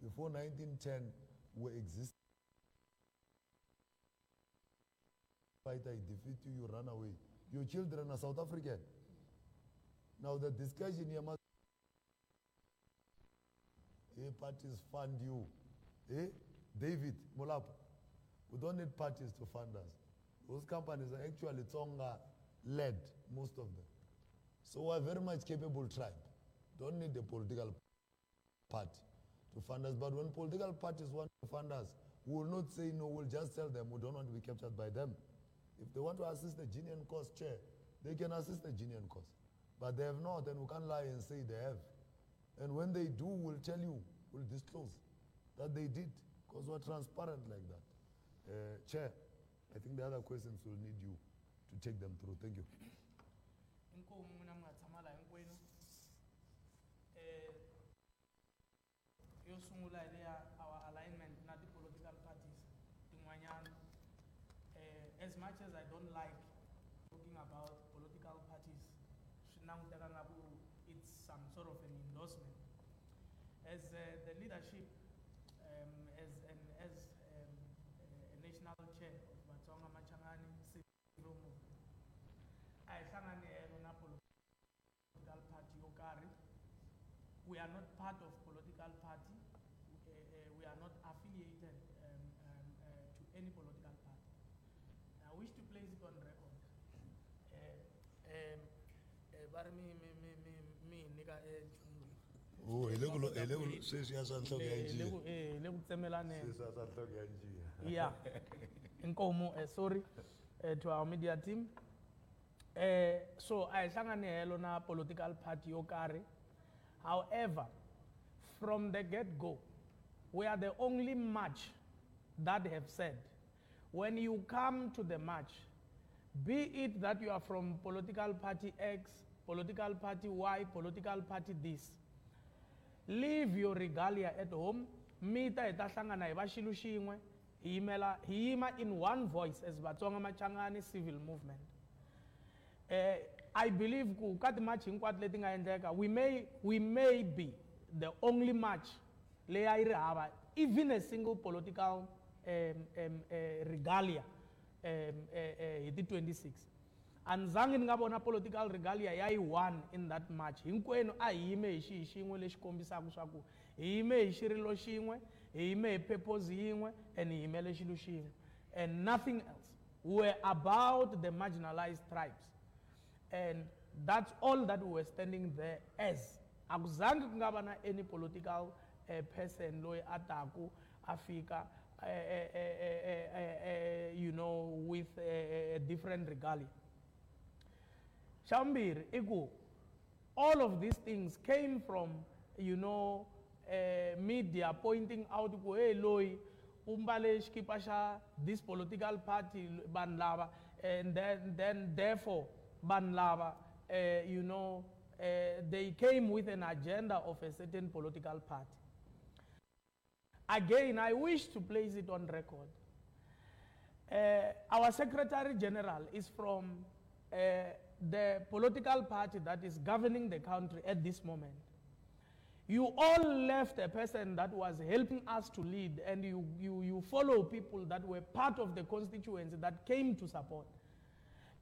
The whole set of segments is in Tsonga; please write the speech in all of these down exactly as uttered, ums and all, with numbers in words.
Before nineteen ten, we existed. Fight, I defeat you, you run away. Your children are South African. Now the discussion here must... Hey, parties fund you. Hey, David Molapo, we don't need parties to fund us. Those companies are actually Tsonga-led, most of them. So we're a very much capable tribe. Don't need a political party to fund us. But when political parties want to fund us, we will not say no, we'll just tell them we don't want to be captured by them. If they want to assist the genuine cause, chair, they can assist the genuine cause. But they have not, and we can't lie and say they have. And when they do, we'll tell you, we'll disclose that they did, because we're transparent like that. Uh, Chair, I think the other questions will need you to take them through. Thank you. Inkomu n'wina mi nga tshama laha hinkwenu. Eh, yo sungula hi leya our alignment na ti-political parties tin'wanyana. Eh, as much as I don't like talking about political parties, swi languteka nga ku it's some sort of an endorsement. As, uh, the leadership, um, as, an, as, um, a national chair of Vatsonga Machangani Civil Movement, a hi hlangani helo na political party yo karhi. We are not part of political party. Uh, uh, we are not affiliated, um, um, uh, to any political party. I wish to place it on record. Uh, um, uh, ba ri mi, mi, mi, mi, mi nyika, eh, nchumu lowu. Oh, hi le ku lo-, hi le ku lo-, sweswiya swa nhloko ya Le, le njiya. ku, eh, le ku tsemelaneni. Sweswiya swa nhloko ya njiya. Yeah. Inkomu, eh, sorry, eh, to our media team. Eh, so a hi hlangani helo na political party yo karhi. However, from the get-go, we are the only march that have said, when you come to the march, be it that you are from political party X, political party Y, political party this, leave your regalia at home, mi ta hi ta hlangana hi va xilo xin'we, hi yimela, hi yima in one voice as Vatsonga Machangani Civil Movement. Eh, I believe ku ka ti-march hinkwato leti nga endleka, we may, we may be the only march leyi a yi ri hava even a single political, um, um, uh, regalia, um, uh, uh, hi ti twenty-six. A ni zangi ni nga vona political regalia ya yi one in that march. Hinkwenu a hi yime hi xihi xin'we lexi kombisaka swa ku hi yime hi xirilo xin'we, hi yime hi purpose yin'we, and hi yimele xilo xin'we, and nothing else. We were about the marginalized tribes. And that's all that we were standing there as. A ku zangi ku nga va na any political, uh, person loyi a taku a fika, eh, eh, eh, eh, eh, eh, you know, with a, a different regalia. Xa vumbirhi i ku all of these things came from, you know, uh, media pointing out ku hey loyi u mbale xikipa xa this political party vanhu lava, and then, then therefore vanhu lava, uh, you know, uh, they came with an agenda of a certain political party. Again, I wish to place it on record. Uh, our Secretary General is from, uh, the political party that is governing the country at this moment. You all left a person that was helping us to lead, and you, you, you follow people that were part of the constituency that came to support.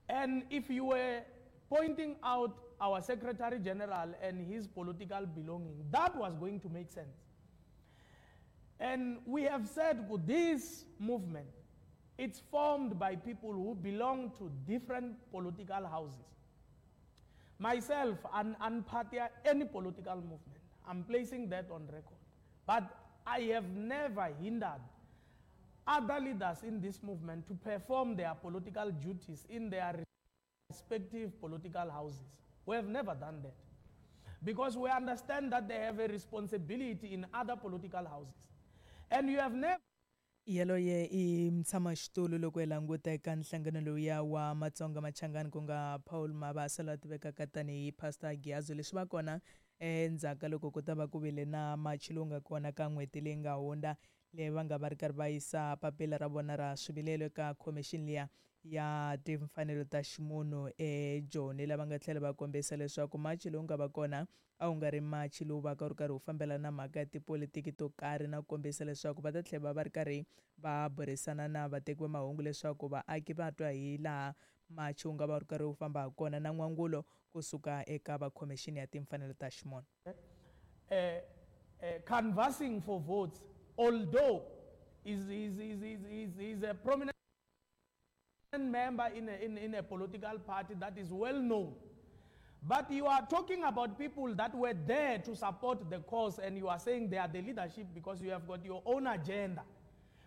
And if you were pointing out our Secretary General and his political belonging, that was going to make sense. And we have said this movement, it's formed by people who belong to different political houses. Myself, I'm, I'm part of any political movement. I'm placing that on record. But I have never hindered other leaders in this movement to perform their political duties in their respective political houses. We have never done that. Because we understand that they have a responsibility in other political houses. And you have never Yaloye i mutshamaxitulu loko hi languta eka nhlangano lowuya wa Matsonga Machangani ku nga Paul Mabasa la tivekaka tanihi Pastor Giyazo. Leswi va kona endzhaku ka loko ku ta va ku vile na machi lowu nga kona ka n'hweti leyi nga hundza, leyi va nga va ri karhi va yisa papila ra vona ra swivilelo eka khomixini liya ya timfanelo ta ximunhu eJoni lava nga tlhela va kombisa leswaku machi lowu nga va kona a wu nga ri machi lowu va ka wu ri karhi wu fambelana na mhaka ya tipolitiki to karhi na ku kombisa leswaku va ta tlhela va ri karhi va burisana na vateki va mahungu leswaku vaaki va twa hi laha machi wu nga va wu ri karhi wu famba ha kona na n'wangulo kusuka eka va khomixini ya timfanelo ta ximunhu. Uh, uh, canvassing for votes, although is is is is is, is a prominent member in a, in, in a political party that is well known. But you are talking about people that were there to support the cause, and you are saying they are the leadership because you have got your own agenda.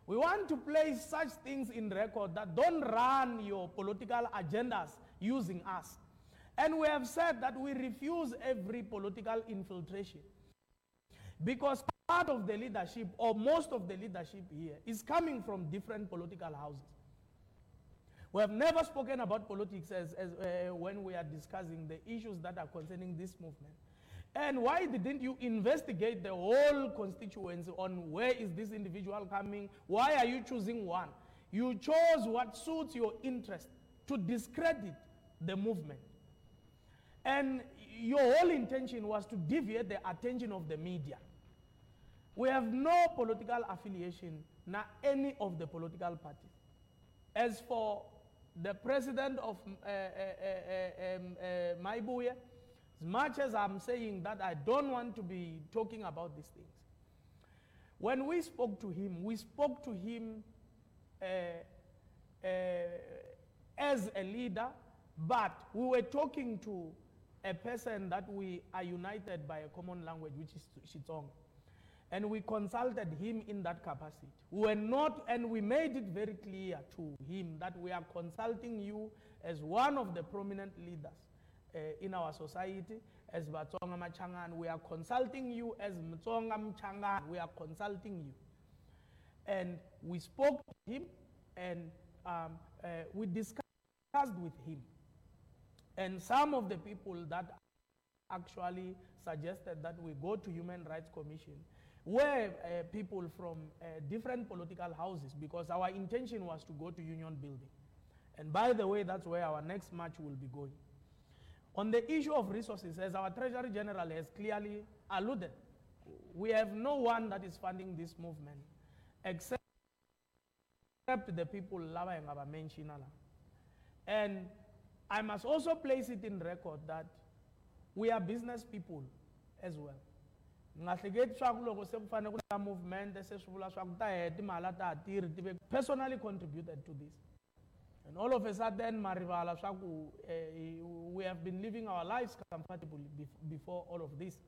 We want to place such things in record that don't run your political agendas using us. And we have said that we refuse every political infiltration, because part of the leadership, or most of the leadership here, is coming from different political houses. We have never spoken about politics as, as, uh, when we are discussing the issues that are concerning this movement. And why didn't you investigate the whole constituency on where is this individual coming? Why are you choosing one? You chose what suits your interest to discredit the movement. And your whole intention was to deviate the attention of the media. We have no political affiliation, not any of the political parties. As for the president of uh, uh, uh, um, uh, Mayibuye, as much as I'm saying that I don't want to be talking about these things, when we spoke to him, we spoke to him uh, uh, as a leader, but we were talking to a person that we are united by a common language, which is Xitsonga. And we consulted him in that capacity. We were not, and we made it very clear to him that we are consulting you as one of the prominent leaders uh, in our society, as Vatsonga Machangani. We are consulting you as Mtsonga Mchangani. We are consulting you. And we spoke to him, and um, uh, we discussed with him. And some of the people that actually suggested that we go to Human Rights Commission were uh, people from uh, different political houses, because our intention was to go to Union Building. And by the way, that's where our next march will be going. On the issue of resources, as our Treasury General has clearly alluded, we have no one that is funding this movement except the people lava hi nga va mention-a la. And I must also place it in record that we are business people as well. Nga hleketi swa ku loko se ku fanele ku ta movement se swi vula swa ku ta heta timali a ta ha tirhi ti ve personally contributed to this. And all of a sudden, ma rivala swa ku, eh, we have been living our lives comfortably bef-, before all of this.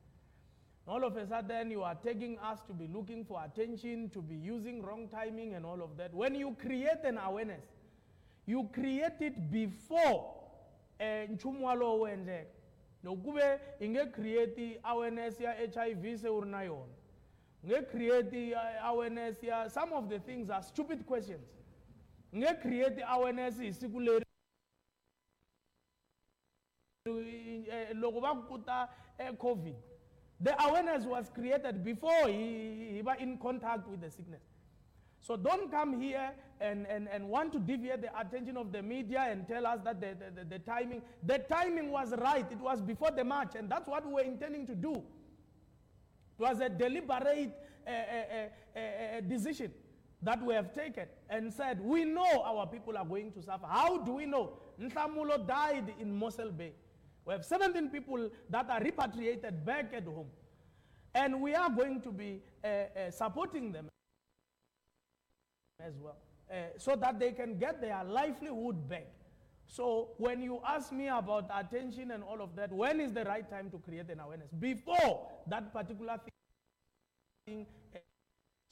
And all of a sudden, you are taking us to be looking for attention, to be using wrong timing and all of that. When you create an awareness, you create it before, eh, nchumu walowo wu endleka. Loko ku ve i nge create awareness ya H I V se u ri na yona. U nge create awareness ya, some of the things are stupid questions. U nge create awareness hi siku leri, eh, loko va ku ta, eh, COVID. The awareness was created before he, he was in contact with the sickness. So don't come here and, and, and want to deviate the attention of the media and tell us that the, the, the, the timing, the timing was right. It was before the march, and that's what we were intending to do. It was a deliberate, uh, uh, uh, uh, decision that we have taken and said, we know our people are going to suffer. How do we know? Nhlamulo died in Mossel Bay. We have seventeen people that are repatriated back at home. And we are going to be, uh, uh, supporting them as well, uh, so that they can get their livelihood back. So when you ask me about attention and all of that, when is the right time to create an awareness? Before that particular thing.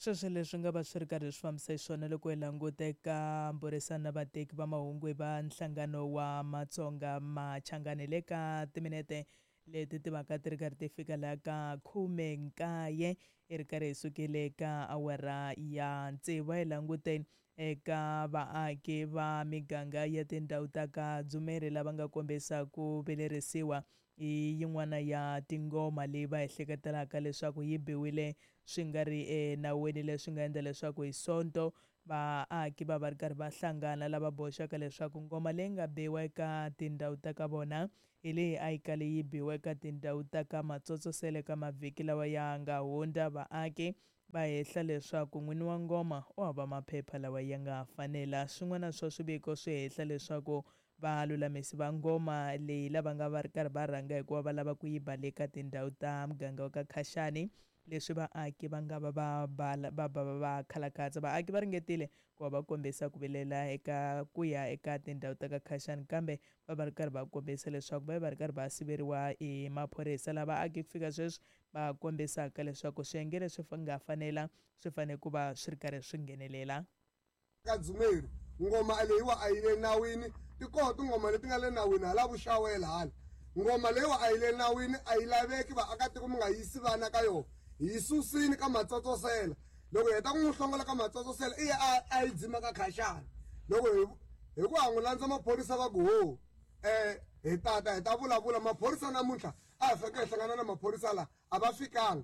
Sweswo leswi nga va swi ri karhi swi fambisa xiswona loko hi languta eka mbhurisano na vateki va mahungu va nhlangano wa Matsonga Machangani le ka timinete leti ti vaka ti ri karhi ti fika laha ka khume nkaye i ri karhi hi sukile ka awara ya tsevu. Hi languteni eka vaaki va miganga ya tindhawu ta ka Dzumeri lava nga kombisa ku vilerisiwa hi yin'wana ya tingoma leyi va ehleketelaka leswaku yi biwile swi nga ri enawini, leswi nga endla leswaku hi Sonto Vaaki va va ri karhi va hlangana lava boxaka leswaku ngoma leyi nga biwa eka tindhawu ta ka vona hi leyi a yi kale yi biwa eka tindhawu ta ka Matsotsosele ka mavhiki lawa ya nga hundza. Vaaki va hehla leswaku n'wini wa ngoma u hava maphepha lawa ya nga fanela. Swin'wana swa swiviko swi hehla leswaku valulamisi va ngoma leyi lava nga va ri karhi va rhanga hikuva va lava ku yi ba le ka tindhawu ta muganga wa ka Khashani, leswi vaaki va nga va va va va va va khalakhatsa. Vaaki va ringetile ku va va kombisa ku vilela eka ku ya eka tindhawu ta ka Khashani, kambe va va ri karhi va kombisa leswaku va va ri karhi va siveriwa hi maphorisa. Lava vaaki ku fika sweswi va kombisaka leswaku swiyenge leswi nga fanela swi fanele ku va swi ri karhi swi nghenelela. Ka Dzumeri ngoma leyiwa a yi le nawini, ti kona tingoma leti nga le nawini hala vuxawela hala. Ngoma leyiwa a yi le nawini, a yi laveki vaakatiko mi nga yisi vana ka yona. Hi susini ka Matsotsosela. Loko hi heta ku n'wi hlongola ka Matsotsosela i ya a yi dzima ka Khashani. Loko hi hi ku ha n'wi landza maphorisa va ku ho eh hi tata hi ta vulavula. Maphorisa namuntlha a hi fanekele hi hlangana na maphorisa la a va fikanga.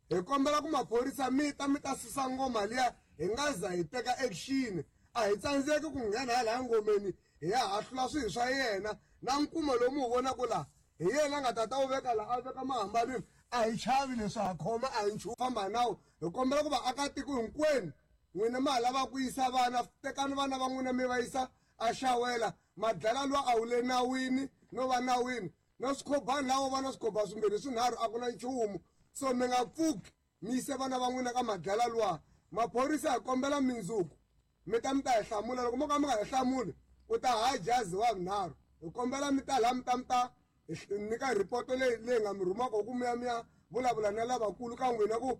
Hi kombela ku maphorisa mi ta mi ta susa ngoma liya hi nga za hi teka action. A hi tsandzeki ku nghena hala ngomeni hi ya hahlula swilo swa yena na nkuma lowu mu vonaka la hi yena a nga tata wu veka la a veka mahambanini. A hi chavi leswi ha khoma a hi nchumu famba nawu. Hi kombela ku vaakatiko hinkwenu n'wina ma ha lava ku yisa vana, tekani vana va n'wina mi va yisa a xawela. Madlala luwa a wu le nawini no va nawini na swikhobani lawo va na swikhoba swimbirhi swinharhu a ku na nchumu. So mi nga pfuki mi yise vana va n'wina ka madlala luwa. Maphorisa hi kombela mindzuku mi ta mi ta hi hlamula. Loko mo ka mi nga hi hlamuli u ta ha jazi wa vunharhu. Hi kombela mi ta laha mi ta mi ta nyika ripoto leyi leyi nga mi rhumaka ku mi ya mi ya vulavula na lavakulu ka n'wina ku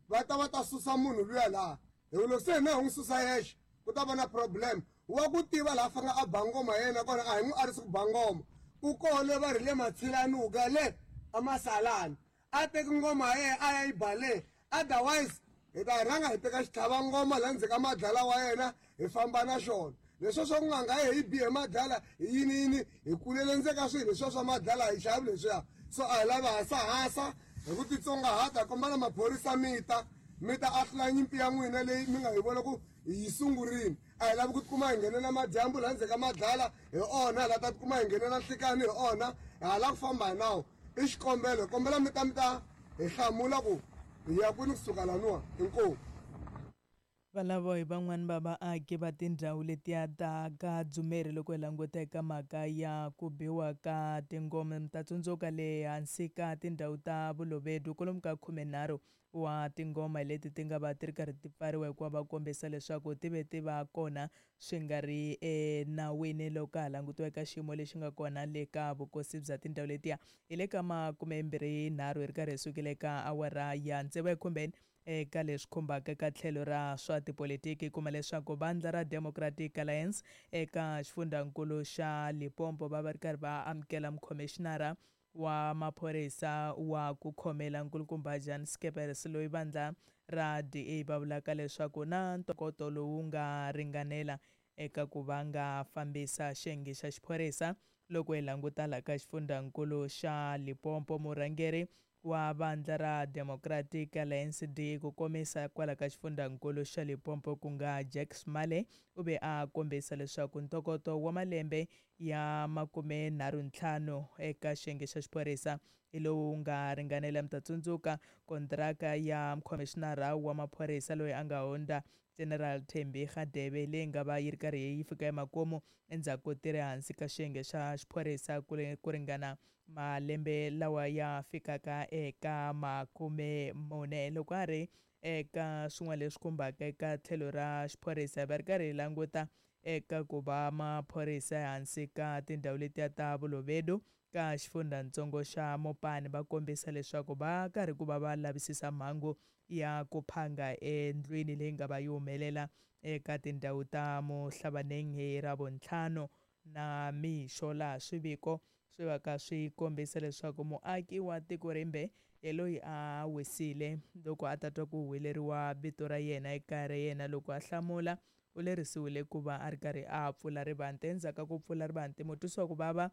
va ta va ta susa munhu luya laha. Hi ku loko se hina hi n'wi susa yexe ku ta va na problem. Wa ku tiva laha fanele a ba ngoma yena kona a hi n'wi arisi ku ba ngoma. Ku kona va ri le Matshilanuka le amasalani a teki ngoma ya yena a ya yi ba le. Otherwise hi ta rhanga hi teka xitlhava ngoma laha ndzeni ka madlala wa yena hi famba na xona. Leswi swa ku nga nga hi bihe madlala hi yini yini hi kulele ndzeni ka swilo leswiya swa madlala hi xavi leswiya. So a hi lavi hasahasa hi ku titsongahata. Hi kombela maphorisa mi ta mi ta ahlula nyimpi ya n'wina leyi mi nga hi vona ku hi yi sungurile. A hi lavi ku tikuma hi nghenela madyambu laha ndzeni ka madlala hi onha, hi lava ta tikuma hi nghenela nhlikani hi onha. Hi ha lava ku famba hi nawu. I xikombelo, hi kombela mi ta mi ta hi hlamula ku hi ya kwini kusuka laniwa. Inkomu. Valavo hi van'wani va vaaki va tindhawu letiya ta ka Dzumeri loko hi languta eka mhaka ya ku biwa ka tingoma. Mi ta tsundzuka le hansi ka tindhawu ta Vulovedu kwalomu ka khumenharhu wa tingoma leti ti nga va ti ri karhi ti pfariwa hikuva va kombisa leswaku ti ve ti va kona swi nga ri enawini loko ka ha langutiwa eka xiyimo lexi nga kona le ka vukosi bya tindhawu letiya. Hi le ka makumembirhi nharhu hi ri karhi hi sukile eka awara ya tsevu ekhumbeni eka leswi khumbaka eka tlhelo ra swa tipolitiki. Kuma leswaku vandla ra Democratic Alliance eka xifundzankulu xa Limpopo va va ri karhi va amukela mukhomixinara wa maphorisa wa ku khomela nkulukumba Jan Skeepers loyi vandla ra D A va vulaka leswaku na ntokoto lowu nga ringanela eka ku va nga fambisa xiyenge xa xiphorisa. Loko hi languta laha ka xifundzankulu xa Limpopo, murhangeri wa vandla ra Democratic Alliance D ku komisa kwala ka xifundzankulu xa Limpopo ku nga Jack Smale u ve a kombisa leswaku ntokoto wa malembe ya makume nharhu ntlhanu eka xiyenge xa xiphorisa hi lowu nga ringanela. Mi ta tsundzuka kontraka ya mukhomixinara wa maphorisa loyi a nga hundza General Thembi Radebe leyi nga va yi ri karhi yi fika emakumu endzhaku ko tirha hansi ka xiyenge xa xiphorisa ku ringana malembe lawa ya fikaka eka makume mune. Loko a ri eka swin'wana leswi khumbaka eka tlhelo ra xiphorisa, va ri karhi hi languta eka ku va maphorisa ehansi ka tindhawu letiya ta Vulovedu ka xifundzatsongo xa Mopani va kombisa leswaku va karhi ku va va lavisisa mhangu ya ku phanga endlwini leyi nga va yi humelela eka tindhawu ta Mohlabaneng hi Ravuntlhanu na mixo, laha swiviko swi va ka swi kombisa leswaku muaki wa tiko rimbe hi loyi a wisile loko a ta twa ku huweleriwa vito ra yena ekaya ra yena. Loko a hlamula u lerisiwile ku va a ri karhi a pfula rivanti. Endzhaku ka ku pfula rivanti, mutwisi wa ku vava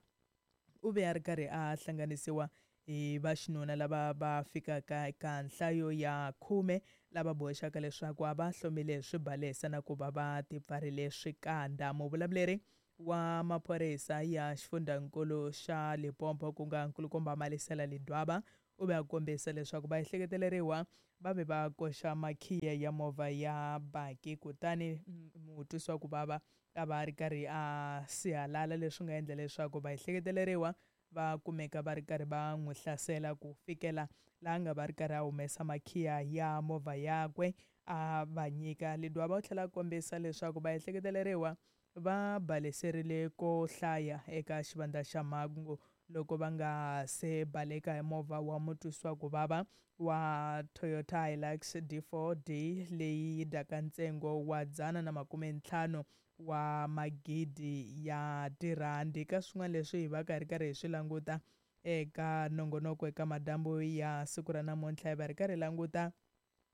u ve a ri karhi a hlanganisiwa hi vaxinuna lava va fikaka eka nhlayo ya khume lava boxaka leswaku a va hlomile swibalesa na ku va va tipfarile swikandza. Muvulavuleri wa maphorisa ya xifundzankulu xa Limpopo ku nga nkulukumba Malisela Ledwaba u ve a kombisa leswaku va ehleketeleriwa va ve va koxa makhiya ya movha ya baki kutani mutwisiwa ku vava a va ri karhi a sihalala, leswi nga endla leswaku va ehleketeleriwa va kumeka va ri karhi va n'wi hlasela ku fikela laha nga va ri karhi a humesa makhiya ya movha yakwe a va nyika. Ledwaba u tlhela a kombisa leswaku va ehleketeleriwa va baleserile ko hlaya eka xivandla xa mhangu loko va nga se baleka hi movha wa mutwisiwa ku vava wa Toyota Hilux D four D leyi yi dyaka ntsengo wa dzana na makume ntlhanu wa magidi ya tirhandi. Ka swin'wana leswi hi va ka hi ri karhi hi swi languta eka nongonoko eka madyambu ya siku ra namuntlha, hi va ri karhi hi languta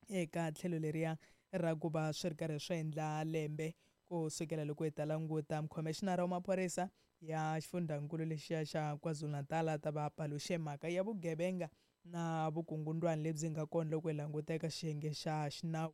eka tlhelo leriya ra ku va swi ri karhi swi endla lembe ku sukela loko hi ta languta mukhomishinara wa maphorisa ya xifundzankulu lexiya xa KwaZulu-Natal ta va paluxe mhaka ya vugevenga na vukungundwani lebyi nga kona loko hi languta eka xiyenge xa xinawu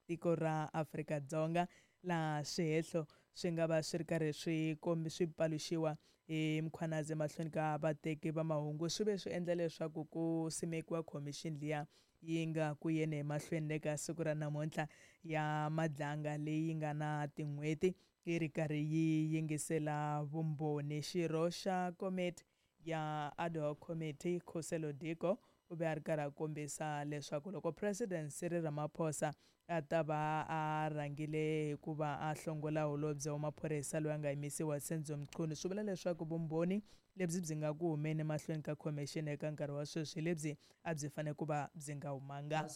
tiko ra Afrika-Dzonga, laha swihehlo swi nga va swi ri karhi swi kombi swi paluxiwa hi Mkhwanazi emahlweni ka vateki va mahungu. Swi ve swi endla leswaku ku simekiwa khomixini liya yi nga ku yeni emahlweni le ka siku ra namuntlha ya Madlanga leyi nga na tin'hweti yi ri karhi yi yingisela vumbhoni. Xirho xa komiti ya ad hoc committee Khuselo Diko u ve a ri karhi a kombisa leswaku loko President Cyril Ramaphosa a ta va a rhangile hikuva a hlongola holobye wa maphorisa loyi a nga yimisiwa Senzo Mchunu, swi vula leswaku vumbhoni lebyi byi nga ku humeni emahlweni ka khomixini eka nkarhi wa sweswi lebyi a byi fanele ku va byi nga humanga.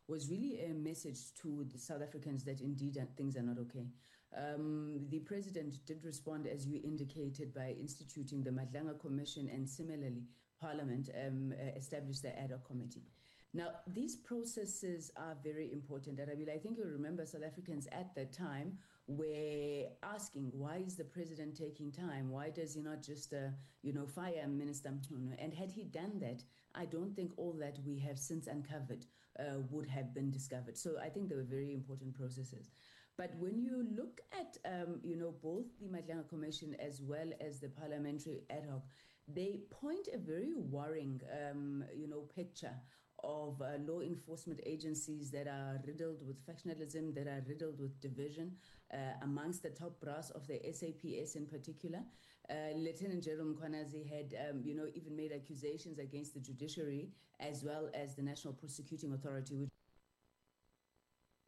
Was really a message to the South Africans that indeed things are not okay. Um, the president did respond, as you indicated, by instituting the Madlanga Commission, and similarly, Parliament um, established the ad hoc committee. Now, these processes are very important. Arabile, I think you'll remember South Africans at that time were asking, why is the president taking time? Why does he not just, uh, you know, fire Minister Mchunu? And had he done that, I don't think all that we have since uncovered uh, would have been discovered. So I think they were very important processes. But when you look at, um, you know, both the Madlanga Commission as well as the parliamentary ad hoc, they point a very worrying, um, you know, picture of uh, law enforcement agencies that are riddled with factionalism, that are riddled with division uh, amongst the top brass of the S A P S in particular. Uh, Lieutenant General Mkhwanazi had, um, you know, even made accusations against the judiciary as well as the National Prosecuting Authority, which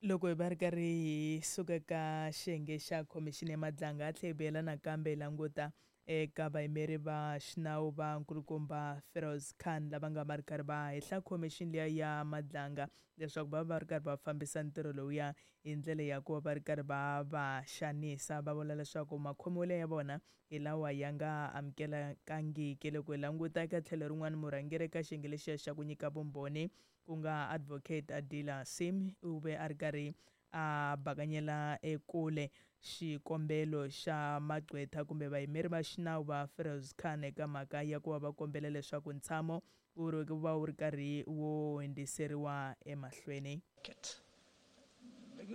loko hi va ri karhi hi suka ka xiyenge xa khomixini ya Madlanga, a tlhela hi vuyela nakambe hi languta eka vayimeri va xinawu va nkulukumba Feroz Khan lava nga va ri karhi va hehla khomixini liya ya Madlanga leswaku va va ri karhi va fambisa ntirho lowuya hi ndlela ya ku va va ri karhi va va xanisa, va vula leswaku makhomelo ya vona hi lawa ya nga amukelekangiki. Loko hi languta eka tlhelo rin'wana, murhangeri eka xiyenge lexiya xa ku nyika vumbhoni ku nga Advocate Adila Sim u ve a ri karhi a bakanyela ekule xikombelo xa magqwetha kumbe vayimeri va xinawu va Feroz Khan eka mhaka ya ku va va kombela leswaku ntshamo wu ri va wu ri karhi wu hundziseriwa emahlweni.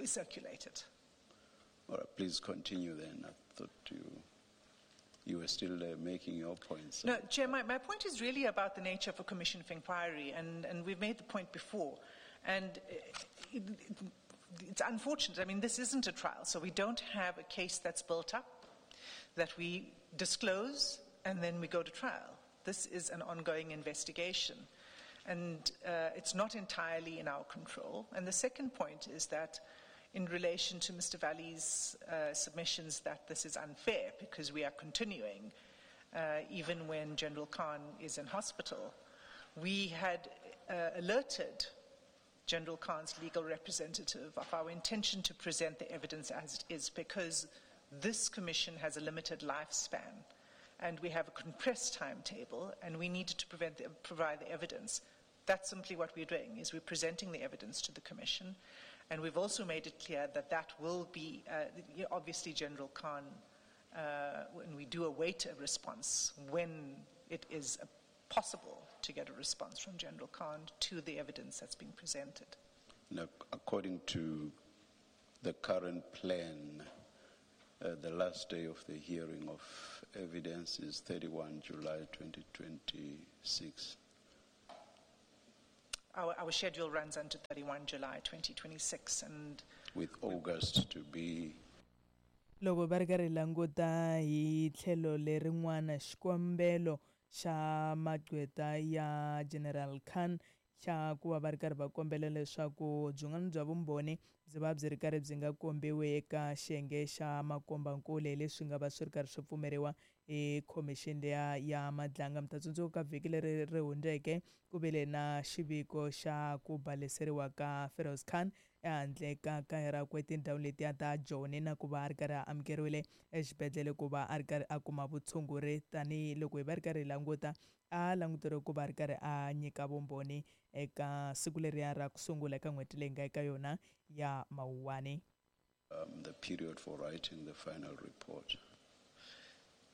Circulated. All right, please continue then. I thought you, you were still uh, making your points. No, Chair, my, my point is really about the nature of a commission of inquiry, and, and we've made the point before. And it, it, it's unfortunate. I mean, this isn't a trial, so we don't have a case that's built up, that we disclose, and then we go to trial. This is an ongoing investigation, and uh, it's not entirely in our control. And the second point is that in relation to Mister Valley's uh, submissions that this is unfair because we are continuing, uh, even when General Khan is in hospital, we had uh, alerted General Khan's legal representative of our intention to present the evidence as it is, because this commission has a limited lifespan and we have a compressed timetable and we needed to prevent the, provide the evidence. That's simply what we're doing, is we're presenting the evidence to the commission. And we've also made it clear that that will be, uh, obviously General Khan, uh, when we do await a response when it is possible to get a response from General Khan to the evidence that's been presented. Now, according to the current plan, uh, the last day of the hearing of evidence is thirty-first July twenty twenty-six. Our, our schedule runs until thirty-first July twenty twenty-six, and with August to be. Loko va ri karhi languta hi tlhelo lerin'wana xikombelo xa magqweta ya General Khan xa ku va va ri karhi va kombela leswaku byin'wana bya vumbhoni byi va byi ri karhi byi nga kombiwi eka xiyenge xa makombankulu leswi nga va swi ri karhi swi pfumeriwa hi khomixini liya ya Madlanga. Mi ta tsundzuka ka vhiki leri ri hundzeke ku vile na xiviko xa ku baleseriwa ka Feroz Khan ehandle ka kaya rakwe tindhawu letiya ta Joni na ku va a ri karhi a amukeriwile exibedhlele ku va a ri karhi a kuma vutshunguri tanihiloko hi va ri karhi hi languta a languteriwe ku va a ri karhi a nyika vumbhoni eka siku leriya ra ku sungula eka n'hweti leyi nga eka yona ya Mawuwani. Um, the period for writing the final report.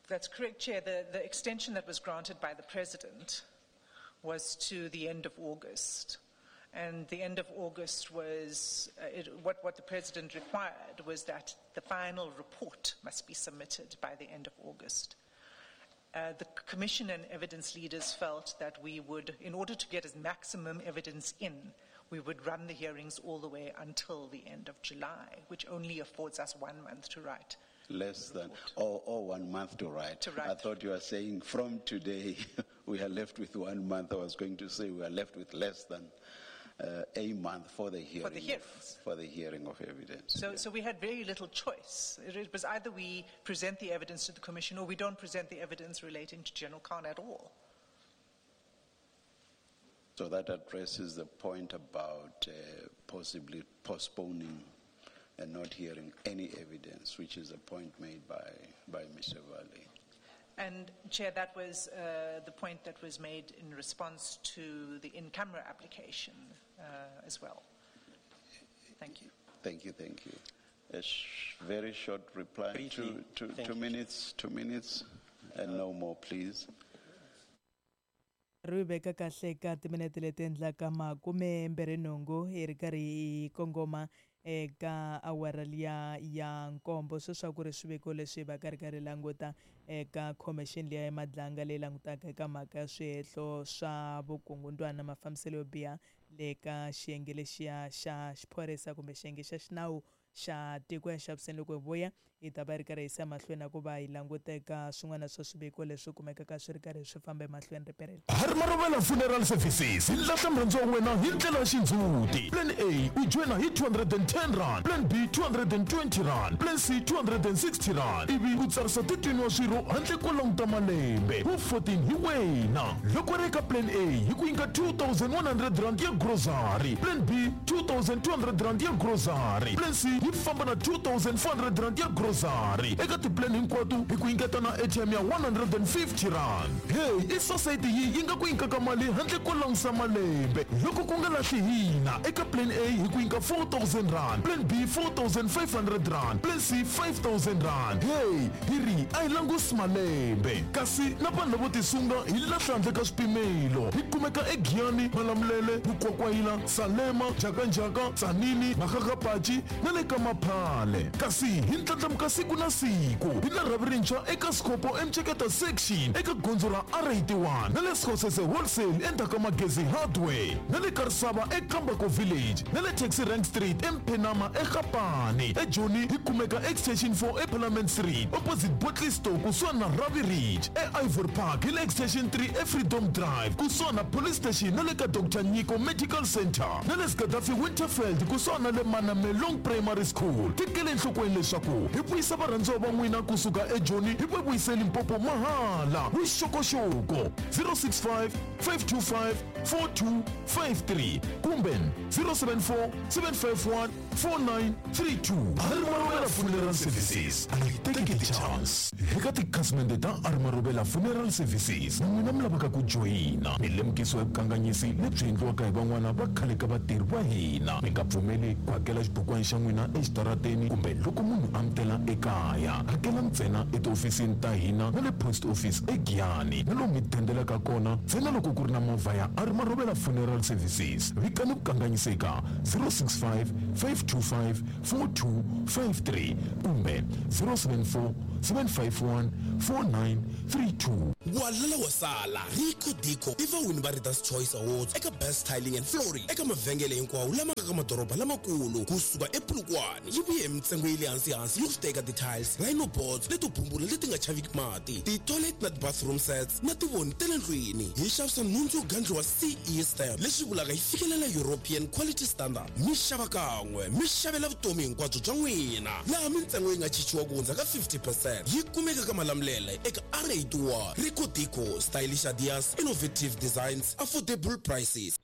That's correct, Chair. The, the extension that was granted by the President was to the end of August. And the end of August was, uh, it, what, what the President required was that the final report must be submitted by the end of August. Uh, the Commission and evidence leaders felt that we would, in order to get as maximum evidence in, we would run the hearings all the way until the end of July, which only affords us one month to write. Less than, or, or one month to write. To write. I thought you were saying from today we are left with one month. I was going to say we are left with less than uh, a month for the hearing. For the hearings. Of, for the hearing of evidence. So, yeah. so we had very little choice. It, it was either we present the evidence to the Commission or we don't present the evidence relating to General Khan at all. So that addresses the point about uh, possibly postponing and not hearing any evidence, which is a point made by, by Mister Valley. And, Chair, that was uh, the point that was made in response to the in-camera application uh, as well. Thank you. Thank you, thank you. A sh- very short reply. Briefly, two, two, two minutes, two minutes, and no more, please. Ri veka kahle ka timinete leti endlaka makume mbirhi nhungu hi ri karhi hi kongoma eka awara liya ya nkombo. Sweswo ku ri swiviko leswi va ka ri karhi languta eka khomixini liya ya Madlanga leyi langutaka eka mhaka ya swihehlo swa vukungundwana na mafambiselo yo biha le ka xiyenge lexiya xa xiphorisa kumbe xiyenge xa xinawu xa tiko ya xaviseni. Loko hi vuya hi ta va ri karhi hi yisa mahlweni na ku va hi languta eka swin'wana swa swiviko leswi kumekaka swi ri karhi swi famba emahlweni riperelo. Harimarovela Funeral Services hi lahla murhandziwa wa wena hi ndlela ya xindzhuti. Plan A u joyina hi two hundred and ten rand, Plan B two hundred and twenty rand, Plan C two hundred and sixty rand, ivi u tsarisa thirteen wa swirho handle ko languta malembe wu fourteen hi wena. Loko ri eka Plan A hi ku nyika two thousand one hundred rand ya grocery, Plan B two thousand two hundred rand ya grocery, Plan C yi famba na two thousand four hundred rand ya grocery. Eka tiplan hinkwato hi ku nyiketa na A T M ya one hundred and fifty rand. Hey, i society yi yi nga ku nyikaka mali handle ko langusa malembe. Loko ku nga lahli hina eka Plan A hi ku nyika four thousand rand, Plan B four thousand five hundred rand, Plan C five thousand rand. Hey, hi ri a hi langusi malembe. Kasi na vanhu lavo tisunga hi lahla handle ka swipimelo. Hi kumeka eGiyani, Malamulele, Mukwakwayila, Salema, Jakanjaka, Tsanini, Makgakgapachi na le ka Maphale. Kasi hi ndlandlamuka siku na siku hi na rhavi rintshwa eka Scopo eMcheketa section eka gondzo ra R eighty-one na le Skhosese Wholesale endzhaku ka Magezi Hardware na le Karisava eKambako Village na le Taxi Rank Street eMphenama eGapane. eJoni hi kumeka Extension four eParliament Street opposite Botley Store kusuhani na Ravi Ridge. E-Ivory Park hi le Extension three eFreedom Drive kusuhani na Police Station na le ka Doctor Nyiko Medical Center na le Gaddafi Winterfeld kusuhani na le Manamelong Primary School. Tekele enhlokweni leswaku hi vuyisa varhandziwa va n'wina kusuka eJoni hi va vuyise Limpopo mahala. Vuxokoxoko zero six five, five two five, four two five three kumbe zero seven four, seven five one, four nine three two. Harimarovela Funeral Services a yi teki ti-chance. Eka tikhasimende ta Harimarovela Funeral Services na n'wina mi lavaka ku joyina mi lemukisiwa hi vukanganyisi lebyi endliwaka hi van'wana va khale ka vatirhi va hina. Mi nga pfumeli ku hakela xibukwana xa n'wina exitarateni kumbe loko munhu a mi tela ekaya. Hakela ntsena etihofisini ta hina na le post office eGiyani na lomu mi dendelaka kona ntsena loko ku ri na movha ya R Marobela Funeral Services. Vikani ku kanganyiseka zero six five, five two five, four two five three kumbe zero seven four, seven five one, four nine three two. Walala wasala Rico Dico i vawini va Readers Choice Awards eka Best Tiling and Flooring eka mavhengele hinkwawo lama nga ka madoroba lamakulu kusuka ePolokwane. Yi vuye hi mintsengo ya le hansi hansi yo teka ti-tiles, rhino boards leto bumbula leti nga chaviki mati, ti-toilet na ti-bathroom sets na tivoni ta le ndlwini. Hi xavisa nhundzu yo gandliwa C E stamp leswi vulaka yi fikelela European Quality Standard. Mi xava kan'we mi xavela vutomi hinkwabyo bya n'wina, laha mintsengo yi nga chichiwa ku hundza ka fifty percent. Yi kumeka ka Malamulele eka R eighty-one. Rico Dico, stylish ideas, innovative designs, affordable prices.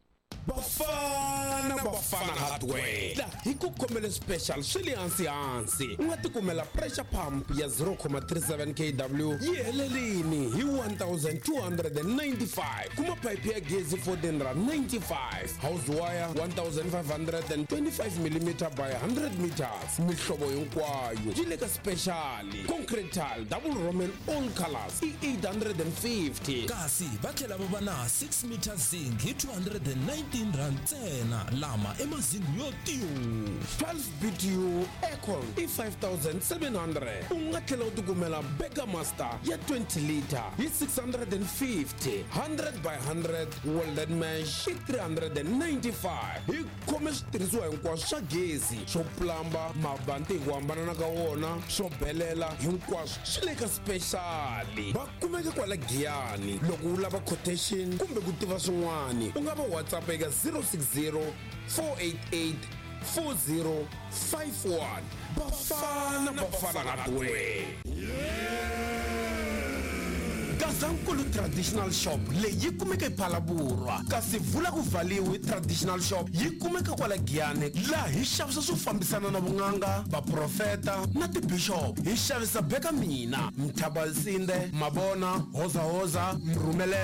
Bafana Bafana Hardware la hi ku khomele special swi le hansi hansi. U nga tikumela pressure pump ya zero comma three seven K W yi helelini hi one thousand two hundred and ninety-five. Kuma pipe ya gezi fourteen rand ninety-five, house wire one thousand five hundred and twenty-five millimeter by hundred meters. Mihlovo hinkwayo yi le ka special. Concrete tile double roman all colors i eight hundred and fifty. Kasi va tlhela va va na six meter zinc hi two hundred and nineteen rand ntsena, lama i mazingi yo tiyo. twelve B T U aircon i five thousand seven hundred. U nga tlhela u tikumela Burger Master ya twenty liter hi six hundred and fifty, hundred by hundred welded mesh i three hundred and ninety-five. Hi khome switirhisiwa hinkwaswo swa gezi, swo plamba, mabanti hi ku hambanana ka wona, swo belela, hinkwaswo swi le ka special. Va kumeka kwala Giyani. Loko u lava quotation kumbe ku tiva swin'wana, u nga va WhatsApp eka zero six zero, four eight eight, four zero five one. Bafana Bafana Hardware. Gazankulu Traditional Shop leyi yi kumeka ePhalaborwa, kasi vula ku valiwe Traditional Shop yi kumeka kwala Giyani, laha hi xavisa swo fambisana na vun'anga, vaprofeta na tibishop. Hi xavisa beka mina, Mthabalsinde, Mabona, Hoza Hoza, Mrhumele.